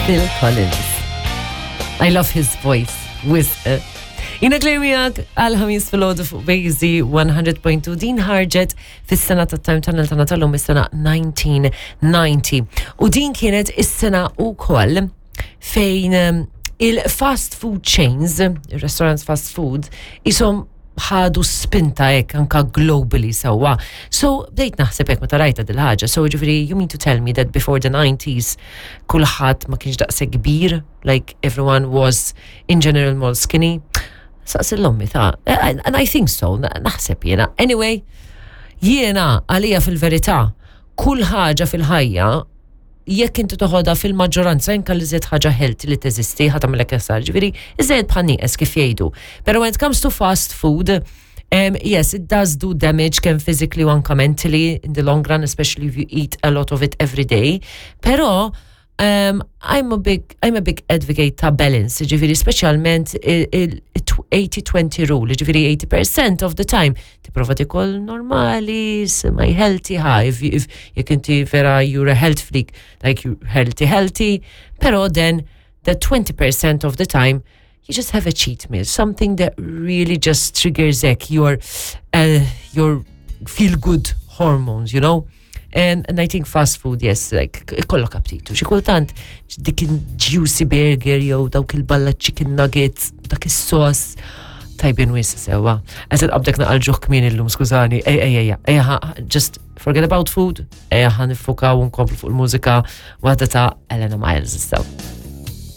Phil Collins. I love his voice. Wisq. Jina klejmijak għal-ħamis fil-ħodu fuq Bejzi 100.2 din ħarġet fis-sena ta' Time Tunnel ta' Natalum is-sena 1990. U din kienet is-sena u koll fejn ehm, il-fast food chains, il-restaurants fast food, isom ħadu spinta hekk anka globally sewwa. So bdejt naħseb hekk meta rajta dil-ħaġa. So ġifieri you mean to tell me that before the 90s kulħadd ma kienx daqshekk kbir, like everyone was in general more skinny. Saqsi l-ommi ta' and I think so, naħseb jiena. Anyway, jiena għalija fil-verità kull ħaġa fil-ħajja jekk inti toħodha fil-maġġoranza anke li żed ħaġa healthy li teżisti ħa tagħmilek ħsar. Ġifieri, iżjed bħal nieqes kif jgħidu. Pero when it comes to fast food, yes, it does do damage kemm physically u anke mentally in the long run, especially if you eat a lot of it every day. Pero I'm a big advocate ta' balance, ġifieri speċjalment il-80-20 rule, ġifieri 80% of the time tipprova tikol normali, semi healthy, ha, if, if jekk inti vera you're a health freak, like you healthy healthy, pero then the 20% of the time you just have a cheat meal, something that really just triggers like, your feel good hormones, you know? And I think fast food, yes, like, ikollok aptitu. Xi kultant dik il-juicy burger jew dawk il-balla chicken nuggets, dak is-sos, tajbin wisq sewwa. Għazet qabdek naqal ġuħ kmin illum, skużani, ej, ej, ej, ej, just forget about food, ej, ħa niffukaw u nkomplu fuq il-mużika waħda ta' Elena Miles, so.